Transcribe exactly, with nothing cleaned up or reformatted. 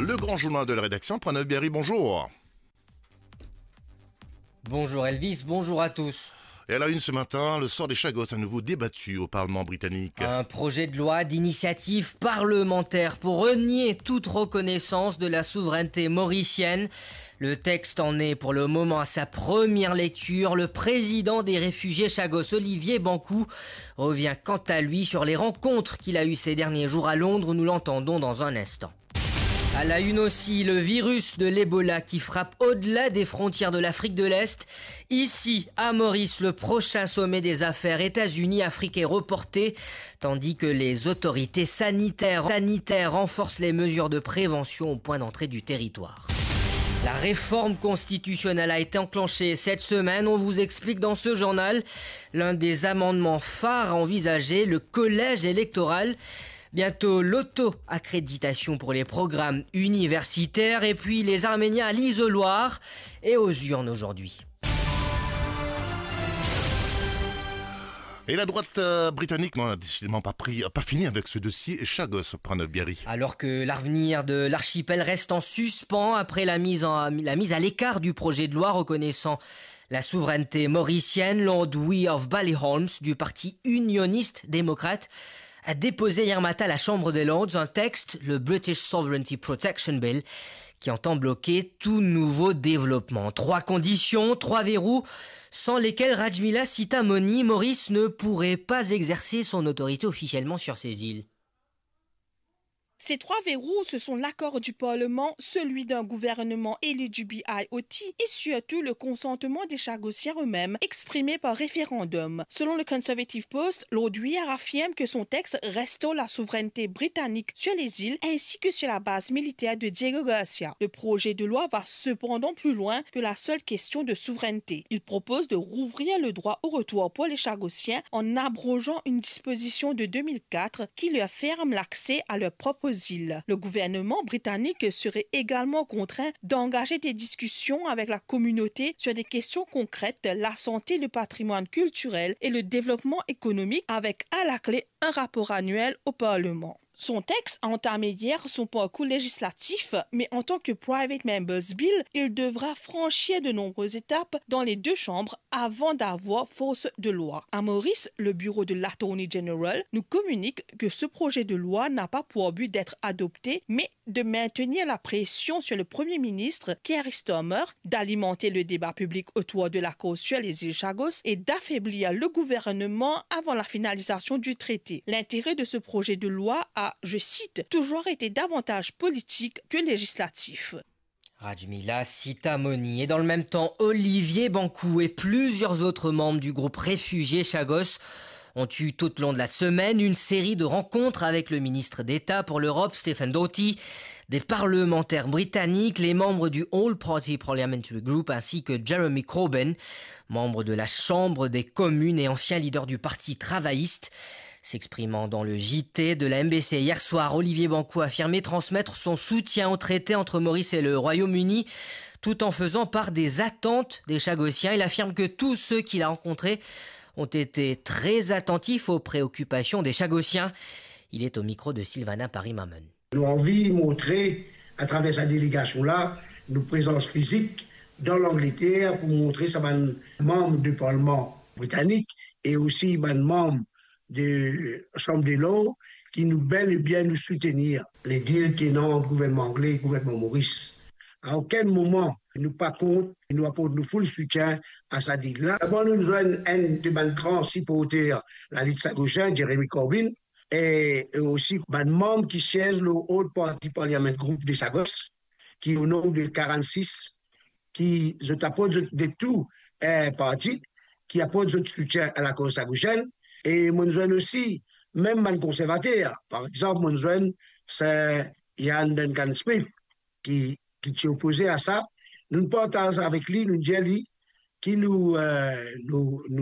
Le grand journal de la rédaction, Pranav Biari, bonjour. Bonjour Elvis, bonjour à tous. Et à la une ce matin, le sort des Chagos à nouveau débattu au Parlement britannique. Un projet de loi d'initiative parlementaire pour renier toute reconnaissance de la souveraineté mauricienne. Le texte en est pour le moment à sa première lecture. Le président des réfugiés Chagos, Olivier Bankou, revient quant à lui sur les rencontres qu'il a eues ces derniers jours à Londres. Nous l'entendons dans un instant. À la une aussi, le virus de l'Ebola qui frappe au-delà des frontières de l'Afrique de l'Est. Ici, à Maurice, le prochain sommet des affaires États-Unis-Afrique est reporté, tandis que les autorités sanitaires, sanitaires renforcent les mesures de prévention au point d'entrée du territoire. La réforme constitutionnelle a été enclenchée cette semaine. On vous explique dans ce journal l'un des amendements phares envisagés, le collège électoral. Bientôt l'auto-accréditation pour les programmes universitaires et puis les Arméniens à l'isoloir et aux urnes aujourd'hui. Et la droite, euh, britannique n'a décidément pas pris, pas fini avec ce dossier Chagos, Pranav Biari. Alors que l'avenir de l'archipel reste en suspens après la mise en, la mise à l'écart du projet de loi reconnaissant la souveraineté mauricienne, Lord Weir of Ballyholmes du parti unioniste démocrate a déposé hier matin à la Chambre des Lords un texte, le British Sovereignty Protection Bill, qui entend bloquer tout nouveau développement. Trois conditions, trois verrous, sans lesquels Rajmila Sitamonie, Maurice ne pourrait pas exercer son autorité officiellement sur ces îles. Ces trois verrous, ce sont l'accord du Parlement, celui d'un gouvernement élu du B I O T et surtout le consentement des Chagossiens eux-mêmes exprimé par référendum. Selon le Conservative Post, Lord Weir affirme que son texte restaure la souveraineté britannique sur les îles ainsi que sur la base militaire de Diego Garcia. Le projet de loi va cependant plus loin que la seule question de souveraineté. Il propose de rouvrir le droit au retour pour les Chagossiens en abrogeant une disposition de deux mille quatre qui leur ferme l'accès à leurs propres îles. Le gouvernement britannique serait également contraint d'engager des discussions avec la communauté sur des questions concrètes, la santé, le patrimoine culturel et le développement économique, avec à la clé un rapport annuel au Parlement. Son texte a entamé hier son parcours législatif, mais en tant que Private Members Bill, il devra franchir de nombreuses étapes dans les deux chambres avant d'avoir force de loi. À Maurice, le bureau de l'Attorney General nous communique que ce projet de loi n'a pas pour but d'être adopté, mais de maintenir la pression sur le Premier ministre Keir Starmer, d'alimenter le débat public autour de l'accord sur les îles Chagos et d'affaiblir le gouvernement avant la finalisation du traité. L'intérêt de ce projet de loi a, je cite, toujours été davantage politique que législatif. Rajmila Sitamonie. Et dans le même temps, Olivier Bankou et plusieurs autres membres du groupe réfugié Chagos ont eu tout au long de la semaine une série de rencontres avec le ministre d'État pour l'Europe, Stephen Doughty, des parlementaires britanniques, les membres du All Party Parliamentary Group ainsi que Jeremy Corbyn, membre de la Chambre des communes et ancien leader du Parti travailliste. S'exprimant dans le J T de la M B C hier soir, Olivier Bankou a affirmé transmettre son soutien au traité entre Maurice et le Royaume-Uni, tout en faisant part des attentes des Chagossiens. Il affirme que tous ceux qu'il a rencontrés ont été très attentifs aux préoccupations des Chagossiens. Il est au micro de Sylvana Paris-Mamon. Nou anvi montre, atraver sa delegasion la, nou prezans fizik dan Langleter pou montre sa bann manm de Parlman britanik e osi bann manm de Chambre des Lords ki nou bel e bien nou soutenir le deal ki ena ant gouvernman angle e gouvernman Moris. A okenn moman nou pa kont, nou aport nou full soutien a sa deal la. Dabor nou zwenn enn de bann gran siporter lalit Chagosien, Jeremy Corbyn, e, e osi bann manm ki siez lor All Party Parliament Group de Chagos, ki o nonb de karannsis, ki zot aport zot de tou, eh, parti, ki aport zot soutien a lakoz Chagosien. E mo'nn zwenn osi mem bann konservater. Par exanp, mo'nn zwenn Sir Iain Duncan Smith, ki, ki ti opoze a sa. Nou'nn partaz avek li, nou'nn dir li ki nou, eh, nou, nou